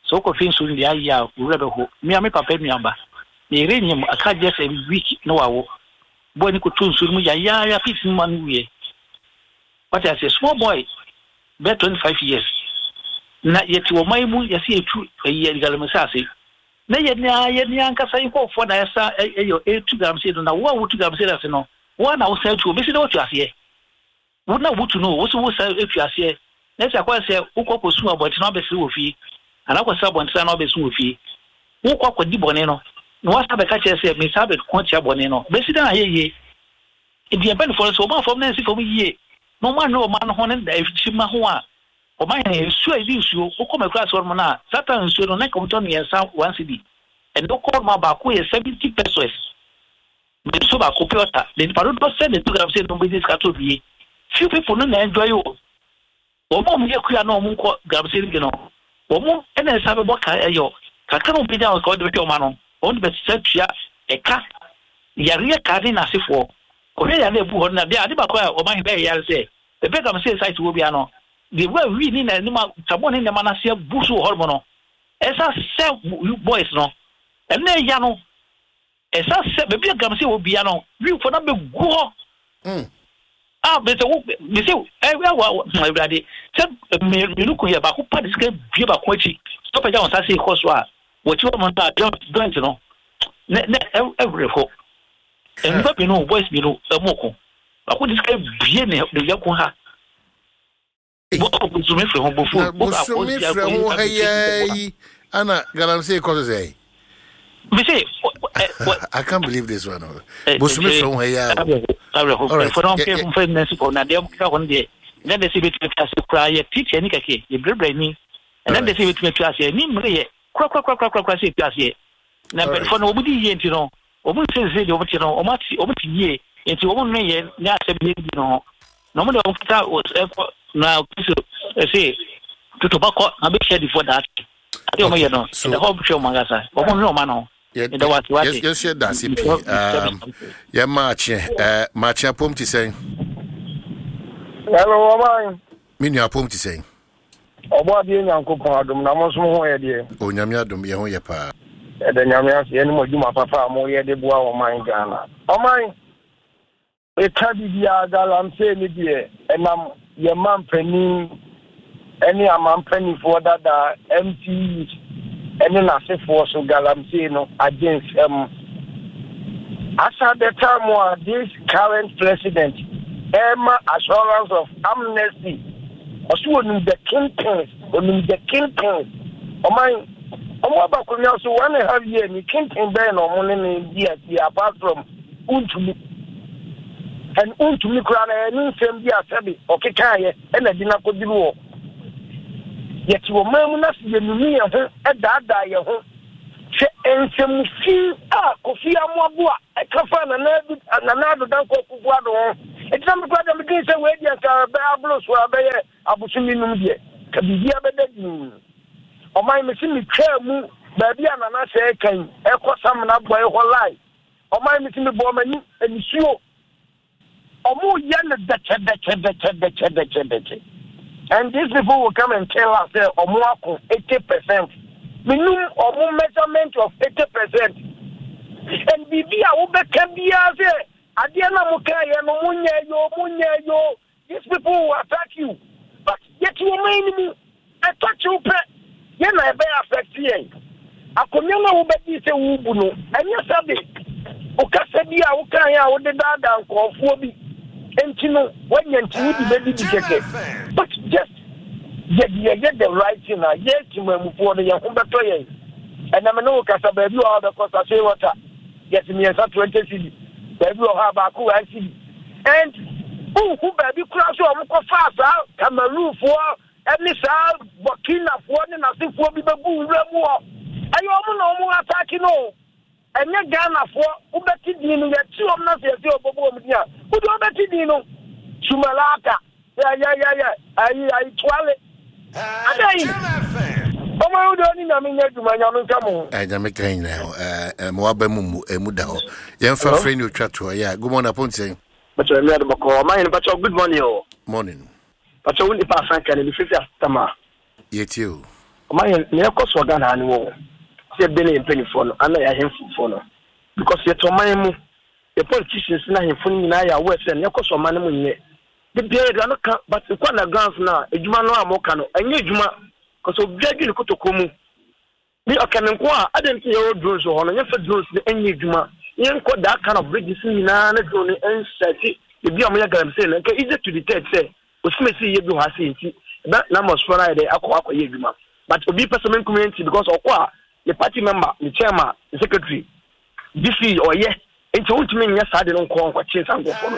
sɛ wokɔhwɛ nsuo no deɛ ayɛ a, wo werɛ bɛho. Me a me papa nuaba, ne yere nyem aka just a week na wawo. Boy no kɔtɔ nsuo no mu yayaaya, fees no ma no wuiɛ. Wate aseɛ, small boy, bɛyɛ 25 years. Na yɛte ɔman yi mu, yɛse yɛtu ɛyi galamsey ase. Na yɛn ara yɛn ankasa yɛn nkurɔfoɔ na yɛsan yɛ ɛretu galamsey no, na wo a wotu galamsey no ase no, wo ara na wosan tu, obɛsi dɛ woatu aseɛ? Wo na wotu no, wo so wosan atu aseɛ, na ɛsɛ akɔyɛ sɛ wokɔ kɔsu abɔnten na wabɛsere wɔ fie, anaa wokɔsere abɔnten na wabɛsu wɔ fie. Wokɔ akɔdi bɔne no, na woasan abɛka kyerɛ sɛ mesan abɛko atia bɔne no, bɛsi dɛn ayɛ yie? Enti yɛn mpanimfoɔ no, sɛ wɔn amfa wɔn nan ansi fam yie, na wɔn anwene ɔman no ho ne akyiri ho a, Ɔman hene, nsuo a yɛde nsuo, wokɔ m'akuraase hɔ nom no a, Satan nsuo no, na nka wɔtɔ mmiɛnsa one cedi. Ɛnnɛ wokɔ hɔ nom a, baako yɛ 70 pesos. Ma nsuo baako, pure water. Na nipa dodoɔ sɛn na ɛtu galamsey nom bɛnya sika tɔ bie? Few people no na enjoy o. Wɔn a wɔyɛ kua na wɔn nkɔ galamsey no bi no, wɔn na ɛsan bɛbɔ ka ɛyɔ. Kakra na wɔn bɛnya wɔn ka wɔde bɛhwɛ wɔn ano. Wɔn de bɛsesa tua ɛka, yareɛ ka ne n'asefoɔ. Kɔhwɛ yareɛ a ɛbu hɔ no na deɛ ade baako a ɔman hene bɛyɛ yare sɛ, Baabi a galamsey site wɔ biara no, deɛ wura wii ne n'anim a sabon ne nneɛma no ase abu so wɔ hɔnom no, ɛsan sɛ boys no, ɛno na ɛya no, ɛsan sɛ baabi a galamsey wɔ biara no, wiifoɔ no abɛgu hɔ. Ah, mesɛ wo, mesɛ ɛwɛ wa awurade sɛ mmienu ko yɛ baako pa de sika bue baako akyi sɛ ɔpɛgya wɔn nsa se kɔ so a wɔkyi wɔn no a joint no ne ne ɛwerɛ hɔ. Nnipa mmienu, boys mmienu ɛmu ko. Baako de sika bue ne ne yɛko ha. Bosome firi ho bofo. Na bosome firi ho ha yi ana galamsey kɔ so sɛ. Bise. I can't believe this one. Bosome firi ho ha yi a. All right. Fɔlɔ nfɛ nfɛ nɛsi kɔ na deɛ keka hɔ no deɛ ɛnɛ de sɛ ebetumi atu ase koraa yɛ teacher ni kɛkɛ yɛ brɛbrɛ ni ɛnɛ de sɛ ebetumi atu aseɛ ni mmiri yɛ korakorakorakorakora sɛ etu aseɛ na mpanyinfoɔ no wɔn di yie nti no Wɔn nsensene deɛ wɔn te no, wɔn ate, wɔn te yie, nti wɔn nnwen yɛn ne asɛm yɛn di no ho. Na wɔn deɛ wɔn kata ɛkɔ na Kristo ɛse toto ba kɔ na bɛhyia difoɔ daakye. Adeɛ wɔn yɛ no, ɛda hɔ hwɛ wɔn ankasa. Wɔn nnwen wɔn ano ho. Meda wo ase wate. Yɛnso yɛda ase pii. Yɛn maakye, maakye apom te sɛn? Hello, ɔman. Me nua apom te sɛn? Ɔbɔadeɛ Nyankopɔn adom na mo nso mo ho yɛ deɛ? O Nyame adom yɛn ho yɛ paa. Yɛda Nyame ase ɛne mo adwuma papa a mo yɛ de boa ɔman Ghana. Ɔman, meka biribiara galamsey ne deɛ ɛnam yɛn manpanin ɛne amanpanifoɔ dada MCEs ɛne n'asefoɔ so galamsey no agye nsam. As at the time a this current president ɛrema assurance of amnesty Ɔse onim the kingpins, onim the kingpins. Ɔman, ɔmo aba akonnwa so one and a half year ni, kingpin bɛn na ɔmo ne ne di asie apart from wontumi. And wontumi koraa no ɛyɛ ne nsɛm bi a sɛbe ɔkekaeɛ ɛna ɛde no akɔduru hɔ. Yɛte ɔman mu na sɛ yɛnunu yɛn ho daadaa yɛn ho. Hwɛ nsɛm fi a Kofi Amoaboa ɛka faa Nana Adu Nana Addo Dankwa Akufo Addo ho. Enti na me koraa deɛ medwene sɛ wei deɛ nka ɛbɛ aboro so a ɛbɛyɛ abosome num deɛ ka biribiara bɛda dinn. Ɔman mese metwaa mu baabi a Nana sɛɛ kan ɛkɔ Samena bɔe hɔ line. Ɔman mese mebɔɔ m'ani nisuo. Ɔmo yɛ no dɛkyɛdɛkyɛdɛkyɛdɛkyɛdɛkyɛ and these people will come and tell us sɛ ɔmo ako 80%. Menum ɔmo measurement of 80% and biribi a wobɛka biara sɛ adeɛ no a mokaeɛ no monyɛ yoo monyɛ yoo. These people will attack you but yɛte ɔman no mu ɛtɔ kyew pɛ yɛn na ɛbɛyɛ affect yɛn. Akonnwa no a wobɛgye sɛ worebu no ɛnyɛ sɛbe wo kasa bi a wokaeɛ a wode daadaa nkurɔfoɔ bi nti no woanya nti wode bɛdidi kɛkɛ but just yɛde yɛyɛ the right thing a yɛn temanmufoɔ no yɛn ho bɛtɔ yɛn. Ɛnɛ me ne wo kasa baabi wɔ hɔ a wobɛkɔ sachet water yɛse mmiɛnsa 20 cedi baabi wɔ hɔ a baako 1 cedi And wonhu baabi koraa sɛ wɔn kɔfaa saa Cameroonfoɔ ne saa Burkinafoɔ ne n'asefoɔ bi bɛgu nwura mu hɔ. Ɛyɛ wɔn na wɔn ataake no o. Ɛnyɛ Ghanafoɔ. Wobɛte din no, yɛte wɔn na sɛ yɛsɛ wɔbɛbɔ wɔn din a, wode wobɛte din no. Sumalata, yɛyɛyɛyɛ, ayi ayi tuale. Adɛn? Ɔma wo deɛ ɔne Nyame nyɛ adwuma, Nyame nka mo ho. Eh, Nyame ka nyina ho. Eh, eh, mo aba mu mu, emu da hɔ. Yɛmfa frɛ ne otwa toɔ. Yeah, good morning, Aponte. Pacho mi ado bɔkɔ. Ɔman yɛn pacho good morning o. Morning. Pacho wo nipa asan kan mi fifi asatama. Yɛtie o. Ɔman yɛn ne ɛkɔ so Ghana ha ne wɔ. Sɛ yɛbɛn yɛn mpanyinfoɔ no ana yɛ ahemfofoɔ no. Because yɛte ɔman mu. Yɛ politicians na ahemfo no nyinaa yɛ aware sɛ ne ɛkɔ so ɔman no mu nyɛ. Da biara yɛde ano ka but wokɔ undergrounds no a adwuma no a moka no ɛnyɛ adwuma cause obiara dwi ne kotokuo mu me ɔka me nko a adɛn nti yɛwɔ drones wɔ hɔ no yɛmfa drones no ɛnyɛ adwuma yɛnkɔ that kind of bridges nyinaa na drone no ɛnsɛte ebi a wɔyɛ galamsey no nka easy to detect sɛ osimesi yɛ bi wɔ ha sei nti ɛbɛ na mɔsfoɔ no ayɛ dɛ akɔ akɔyɛ adwuma but obi pɛ sɛ menkum yɛ nti because ɔkɔ a ne party member ne chairman ne secretary DC ɔyɛ nti wontumi nyɛ saa de no nkɔ nkɔkye saa nkurɔfoɔ no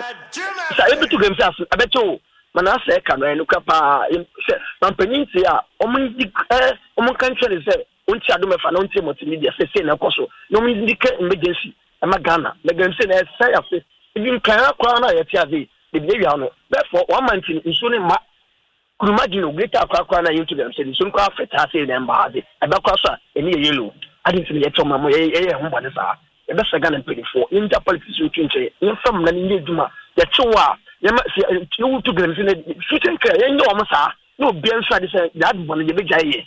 sɛ yɛbɛtu gam sɛ aso ɛbɛkyɛ o ma na asɛ ɛka no ɛyɛ nokora paa sɛ mampanyin tie a ɔmo ndi ɛ ɔmo nka nkyerɛ ne sɛ ɔnti adom ɛfa na ɔntie multimedia sɛ sei na ɛkɔ so na ɔmo ndi kɛ emergency ɛma Ghana na gam sɛ na ɛsɛ ase ebi nkan akora no a yɛte ase ebi awia no therefore wɔn ama nti nsuo ne mma Kuruma gye no greater akora koraa na yɛntu dɛm sɛ nsuo no koraa fɛtaa sei na ɛmba ha dze ɛbɛ koraa so a ɛni yɛ yellow adi nti na yɛtɔ ma mo yɛyɛ yɛn ho bɔne saa yɛbɛsrɛ Ghana mpanimfoɔ yɛngya politics nto nkyɛn yɛmfa mmara no nyɛ adwuma yɛkye wo a yɛma sɛ yɛwotu galamsey na future nkra yɛnyɛ wɔn saa na obiara nso ade sɛ deɛ ade bɔne yɛbɛgyae yɛ.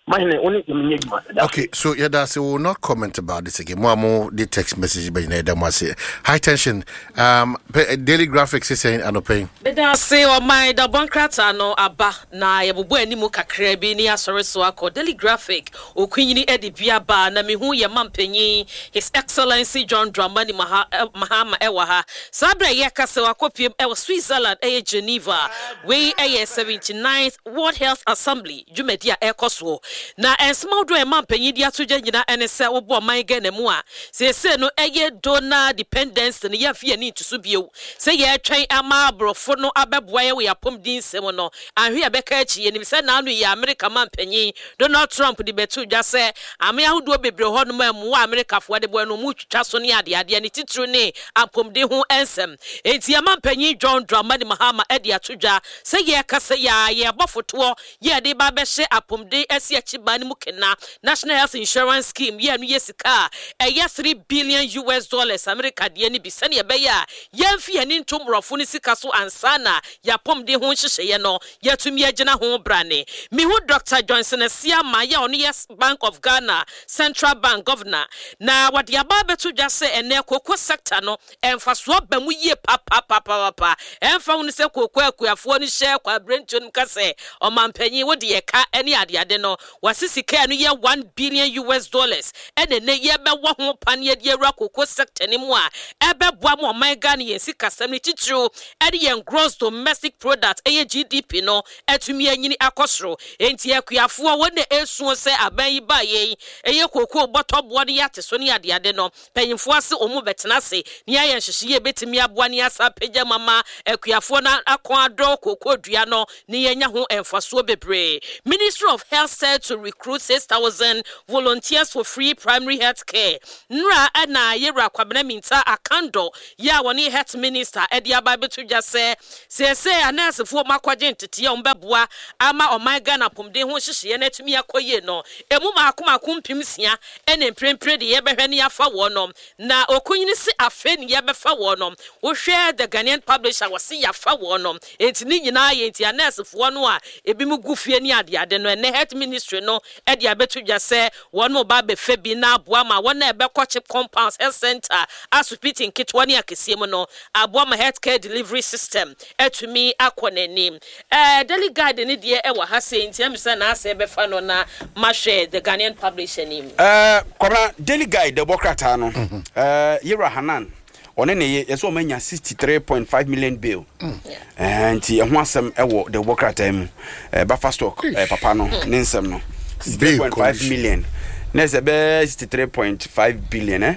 Mahene, wo ne yɛn nyɛ adwuma. Yɛda ase. Okay, so yɛda ase. We will not comment about this again. Mo a mo de text message bɛ nyinaa yɛda mo ase. High tension. Um, pe, Daily Graphic sɛ sɛn anɔpɛ yi. Meda ase ɔman dabɔ nkrataa no aba na yɛbobɔ anim kakraa bi ne yɛasɔre so akɔ Daily Graphic Okunyini de bi aba na mehu yɛn mampanyin His Excellency John Dramani Mahama wɔ ha saa berɛ a yɛreka sɛ wakɔpiem wɔ Switzerland ɛyɛ Geneva wei yɛ 79th World Health Assembly dwumadi a ɛrekɔ soɔ. Na nsɛm ahodoɔ a ɛma mpanyin de ato dwa nyinaa ne sɛ wobɔ ɔman Ghana mu a, seesei no ɛyɛ donor dependency no yɛmfa yɛn ani nto so bio sɛ yɛretwɛn ama aborɔfo no abɛboa yɛn wɔ yɛn apɔmuden nsɛm no. Anhwɛ yɛbɛka akyi. Yɛnim sɛ naano yi Amerika manpanyin Donald Trump de bɛtoo dwa sɛ aman ahodoɔ bebree wɔ hɔnom a mmoa a Amerikafoɔ de boa no wɔretwitwa so ne adeadeɛ, ne titiriw ne apɔmuden ho nsɛm. Enti yɛn manpanyin John Dramani Mahama de ato dwa Sɛ yɛrekasa yi ara, yɛrebɔ fotoɔ yɛ yɛde reba abɛhyɛ apomden asi akyi ban no mu kena. National Health Insurance Scheme yɛ ɛno yɛ sika a ɛyɛ 3 billion US dollars Amerika deɛ no bi sɛdeɛ ɛbɛyɛ a yɛmfi yɛn ani nto mmorɔfo no sika so ansa na yɛn apomden ho nhyehyɛeɛ no yɛatumi agyina ho brane. Mehu Dɔkta Johnson Asiamah yɛ a ɔno yɛ Bank of Ghana Central Bank Governor na wɔde aba abɛto dwa sɛ ɛnnɛ cocoa sector no Mfasoɔ ba mu yie papapapapapa. Ɛmfa ho ne sɛ kooko akuafoɔ no hyɛ kwabrɛntuo no mu ka sɛ, Ɔmanpanyin, wo deɛ ka ne adeade no. Wɔse sika a ɛno yɛ one billion US dollars ɛna ɛnɛ yi yɛbɛwɔ ho paneɛ de awura cocoa sector no mu a ɛbɛboa ma ɔman Ghana yɛn sikasɛm no titiriw ɛne yɛn gross domestic product ɛyɛ GDP no atumi anyini akɔ soro. Enti akuafoɔ wɔn na ɛresuo sɛ aban yi baeɛ yi ɛyɛ cocoa bɔtɔ boɔ no yɛate so ne adeade no Mpanyimfoɔ ase wɔn bɛtena ase na yɛayɛ nhyehyɛeɛ a ɛbɛtumi aboa na yɛasan apagya mu ama akuafoɔ no akɔn adɔ kookoo dua no na yɛanya ho mfasoɔ bebree. Ministry of Health set to recruit 6,000 volunteers for free primary health care. Nnora na Yɛwura Kwabena Mintah Akandoh yi a ɔne Health Minister de aba abɛto dwa sɛ seesei anɛɛsefoɔ a wɔakɔgye nteteeɛ a wɔbɛboa ama ɔman Ghana apɔmuden ho nhyehyɛeɛ no atumi akɔ yie no, ɛmu mmaako mmaako 6,000 Ɛne mprempren de yɛbɛhwɛ ne yɛafa wɔnom, na Okunyini se afei ne yɛbɛfa wɔnom. Wohwɛ The Ghanaian Publisher wɔse yɛafa wɔnom. Enti ne nyinaa yɛ nti a nɛɛsefoɔ no a ebinom gu fie ne adeade no, ɛnnɛ Health Ministry no de abɛto dwa sɛ wɔnom reba abɛfa bi na aboa ma wɔn a ɛbɛkɔ CHPS compounds, health centre, asopiti nketewa ne akɛseɛ mu no, aboa ma health care delivery system atumi akɔ n'anim. Eh, Daily Guide no deɛ ɛwɔ ha sei nti ɛm sɛ n'asɛ bɛfa no na mahwɛ The Ghanaian Publisher no mu. Eh, Kwabena, Daily Guide dɛbɔ krataa no, eh, Yewura Hanan, ɔne ne ye, yɛsɛ wɔn anya 63.5 million bail. Eh, nti ɛho asɛm ɛwɔ dɛbɔ krataa mu. Eh, Buffer stock, eh, papa no, ne nsɛm no. 63.5 million. Na ɛsɛ bɛɛ 63.5 billion, eh?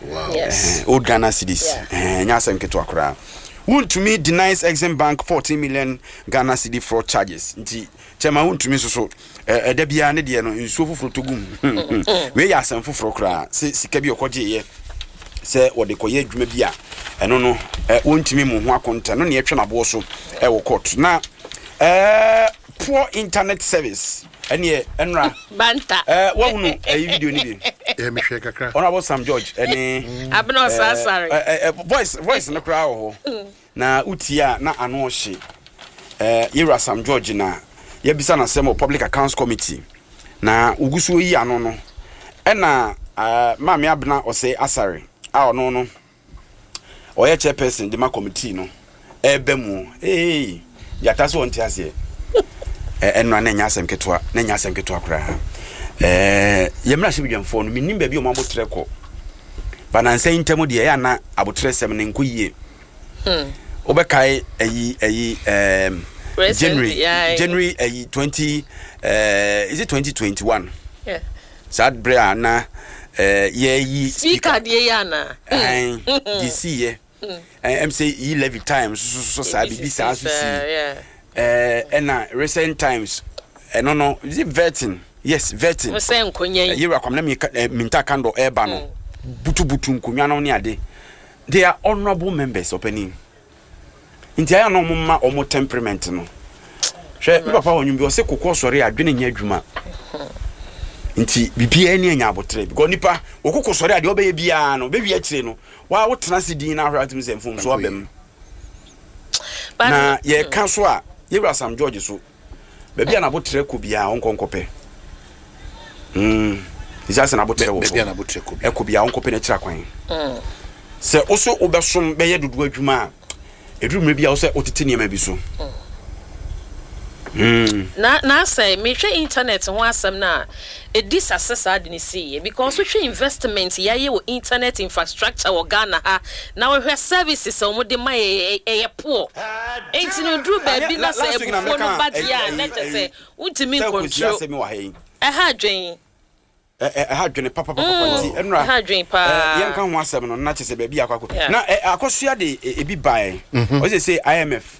Wow. Yes. Eh, old Ghana cedis. Yeah. Eh, nya asɛm ketewa koraa. Wontumi denies Exim Bank 14 million Ghana cedi fraud charges. Nti kyɛma wontumi nso so ɛda eh, biara ne deɛ no nsuo foforɔ tɔ gum. Wei yɛ asɛm foforɔ koraa sɛ sika bi ɔkɔgyeeɛ sɛ wɔde kɔyɛ adwuma bi a ɛno no eh, wontumi mu ho akonta no ne ɛtwe n'aboɔ so ɛwɔ court na eh, poor internet service ɛneɛ ɛnora banta ɛɛ wahunu ɛyi video ni bi ɛɛ mehwɛ kakra honorable sam george ɛne mm. abena ɔsasare ɛɛ ɛɛ voice voice no koraa wɔ hɔ mm. na wotie a na ano ɔhye ɛɛ yɛwura sam george na yɛbisa n'asɛm wɔ public accounts committee na wogu so yi ano no ɛna ɛɛ maame abena ɔsɛ asare a ɔno no ɔyɛ chairperson de ma committee no ɛreba mu ee gyata so ɔnte aseɛ ɛnora na ɛnyɛ asɛm ketewa na ɛnyɛ asɛm ketewa koraa ɛɛ yɛn mmarahyɛ badwamfoɔ no menim baabi a wɔn abotrɛ kɔ banansa yi ntam deɛ ɛyɛ ana abotrɛ sɛm no nkɔ yie hmm. wobɛkae ayi ayi ɛɛm January January ayi 20 ɛɛ is it 2021 yeah. Saa berɛ a na yɛreyi speaker. Speaker deɛ yɛ anaa? Ɛn, deɛ siiɛ. Ɛm sɛ yi levy time so so saa biribi saa so sii. Ɛna recent times ɛno no is it vetting? Yes, vetting. Mo sɛ nkonya yi. Yɛwura Kwamina Minta Kandor ɛreba no butubutu nkonwa no ne ade. They are honourable members ɔpanin. Nti ayɛ a na wɔn ma wɔn temperament no. Hwɛ, me papa wɔ nwom bi ɔsɛ kokɔ sɔre a adwene nyɛ adwuma. Nti biribiara ni anya abotere because nipa wɔkoko sɔre a deɛ ɔbɛyɛ biara no bɛwi akyire no waa wotena ase din na ahwɛ atumi sɛ mfomso aba mu. Na yɛka so a yɛwura Sam George so Baabi a n'aboterɛ kɔ biara ɔnkɔ nkɔpɛ. Mm. Ɛsɛ sɛ n'aboterɛ wɔ Baabi a n'aboterɛ kɔ biara. Ɛkɔ biara ɔnkɔpɛ n'akyira kwan. Sɛ wo so wobɛsom bɛyɛ dodoɔ adwuma a, ɛduru mmerɛ bi a wo sɛ wotete nneɛma bi so. Mm. Na na sɛ mehwɛ internet ho asɛm no a, ɛdi sa sɛ saa ade no siiɛ because wohwɛ investment yɛayɛ wɔ internet infrastructure wɔ Ghana ha na wohwɛ services a wɔde ma yɛ ɛyɛ poor. Enti no ɛduru baabi na sɛ abufuo no ba deɛ a na kyerɛ sɛ wontumi ncontrol. Ɛha adwene. Ɛha adwene papapapa nti ɛnora ɛha adwene paa. Yɛnka ho asɛm no na kyerɛ sɛ baabi akɔ akɔ na akɔsoa de ebi bae. Ɔsɛ sɛ IMF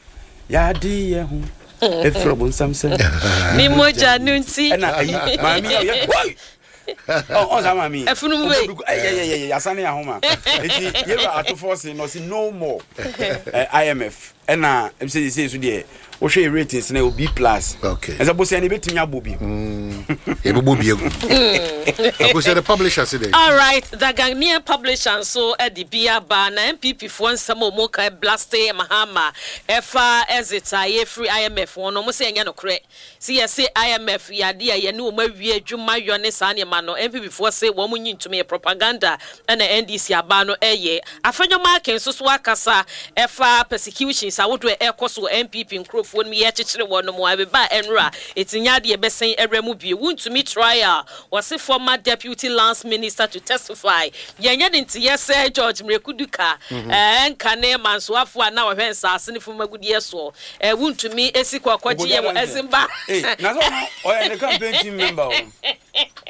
yɛade yɛ ho ɛfiri ɔbonsam sɛ ne mogya no nti ɛna ayi maame yɛ ɔyɛ woi ɔ saa maame yi ɛfunum wei ɛyɛyɛyɛ yasane ahoma nti yɛwura atofoɔ se na ɔse no more IMF ɛna ɛsɛ sɛ so deɛ wohwɛ yɛ ratings na ɛwɔ B plus okay ɛsɛ bosia no ebɛtumi abɔ bi yɛbɛbɔ bi agu akosɛ the publisher se dɛ all right the Ghanaian publisher nso de bi aba na NPP foɔ nsɛm a wɔn ka blaste Mahama ɛfa exit a yɛfiri IMF ho no wɔn sɛ ɛnyɛ nokorɛ Se yɛse IMF yɛ adeɛ a yɛne wɔn awie adwuma yɔ ne saa nneɛma no, NPP foɔ se wɔn nyi ntom, ɛyɛ propaganda na NDC abaa no ɛyɛ. Afenyo Markin nso so akasa ɛfa persecutions Investigations ahodoɔ a ɛrekɔ so wɔ NPP nkurofoɔ no mu yɛrekyekyere wɔnom a ɛbeba a ɛnora ɛti nyɛ adeɛ ɛbɛsɛn awura mu bio. Wontumi trial wɔse former deputy lands minister to testify yɛnyɛ ne nteyɛ sɛ George Mireku Duka ɛnka ne mansoafoɔ a na ɔhwɛ nsaase ne fam agudeɛ soɔ wontumi esi kɔ kɔgye yɛ wɔ Ezimba. Na sɛ ɔno ɔyɛ ne campaign team member o.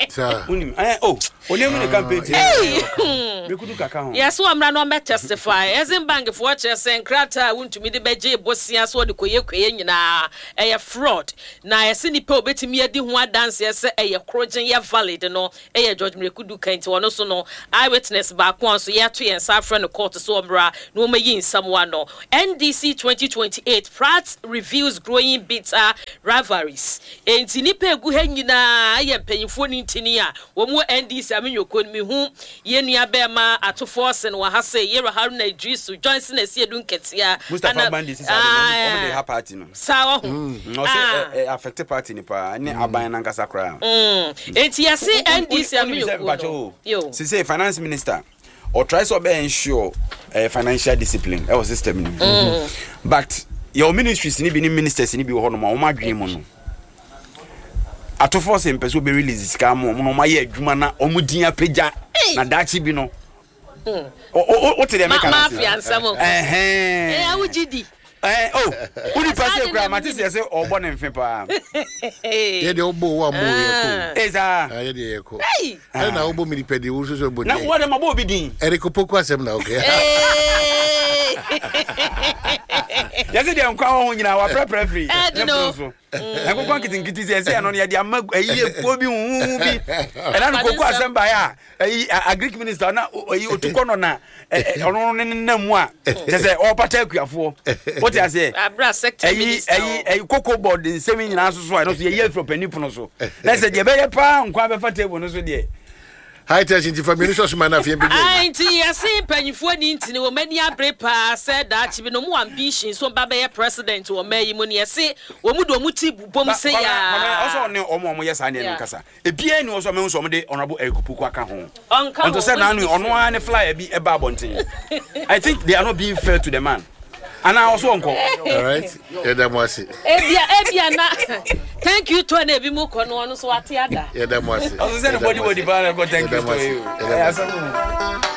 Saa. Wonim ɛɛ o onim ne campaign team member. Mireku Duka ka ho. Yɛse ɔmmra na ɔmmɛ testify. Exim Bank foɔ kyerɛ sɛ nkrataa a wontumi de bɛgye bosea sɛ ɔde kɔyɛ kuayɛ nyinaa ɛyɛ fraud. Na yɛse nipa a obetumi adi ho adanseɛ sɛ ɛyɛ korogyen yɛ valid no yɛ George Mireku Duka nti ɔno nso no eye witness baako a nso yɛato yɛn nsa afrɛ no court sɛ ɔmmra na wɔmmɛyi nsɛm ano. NDC 2028 Pratt reveals growing bitter rivalries Enti nnipa a ɛgu ha nyinaa yɛ mpanyimfoɔ ne ntini a wɔn wɔ NDC amenyɔkuo no. Mehu yɛn nua bɛɛma Ato Forson wɔ ha sei, Yero Haruna Iddrisu, Johnson Asiedu Nketia, Mustapha ana Bandi sisi ade no, wɔn de ha party no. Saa wahu. Ɔsɛ Ah. ɛ affect party no paa ne aban no ankasa koraa. Enti yɛse NDC Wonim sɛ amenyɔkuo mpakyɛ no. o, Yo. sisei finance minister ɔtry sɛ ɔbɛ ensure eh, financial discipline ɛwɔ system no mu. But yɛwɔ ministries no bi ne ministers no bi wɔ hɔnom a wɔn adwene mu no atofoɔ sɛ mpɛ sɛ ɔbɛ release sika ama wɔn na wɔn ayɛ adwuma na wɔn din apagya na daakye bi no wote deɛ meka no ase mafia nsɛm o ɛhɛn ɛyɛ wogye di ɛɛ o wo nipa sɛ kura mate sɛ sɛ ɔbɔ ne mfe paa yɛ deɛ wobɔ wo ammɔ yɛ kɔ ee saa yɛ deɛ yɛ kɔ ɛna wobɔ mi nipa di wo nso sɛ wobɔ na wɔde ma bɔ obi din Eric Opoku asɛm na okay yɛsɛ deɛ nkwa wɔ ho nyinaa waprɛprɛ firi Ɛdi no. ne so nkokɔ nketenkete sɛ ɛsɛ ɛno no yɛde ama ayi ekuo bi huhu bi ɛna no koko asɛm baeɛ a ayi agric minister na ayi otu kɔ no na ɔno ne nenam mu a kyɛ sɛ ɔrepata akuafoɔ wote aseɛ Abra sector ayi minister ayi ayi koko board nsɛm yi nyinaa soso a ɛno so yɛyi afiri ɔpanin pono so na sɛ deɛ ɛbɛyɛ paa nkwa bɛfa table no so deɛ High tension nti fa mmienu sɔ so ma no afei mpagya Ae nti yɛse mpanyinfoɔ ni ntini wɔn ani abere paa sɛ daakye bi no wɔn wɔ ambition sɛ wɔn ba bɛyɛ president wɔ ɔman yi mu no yɛse wɔn de wɔn ti bobom Ba sei Kwabena Kwabena ɔsɛ aa. ɔne wɔn a wɔyɛ saa nneɛma no Yeah. nkasa ebiara ni hɔ sɛ ɔmɛhu sɛ wɔde Honourable Eric Opoku aka ho Ɔnka ho until sɛ n'ano wɔntumi ɔno frɛ. ara ne flyer bi ɛba abɔnten I think they are not being fair to the man anaa ɔso ɔnkɔ. All right yɛda mo ase. Ebia ebia na thank you tour na ebi mu kɔ no ɔno nso wate ada. Yɛda mo ase. Ɔso sɛ ne body body paa na ɛkɔ thank you Yɛda mo tour ase. yi o Yɛda mo ɛyɛ ase. asɛm o.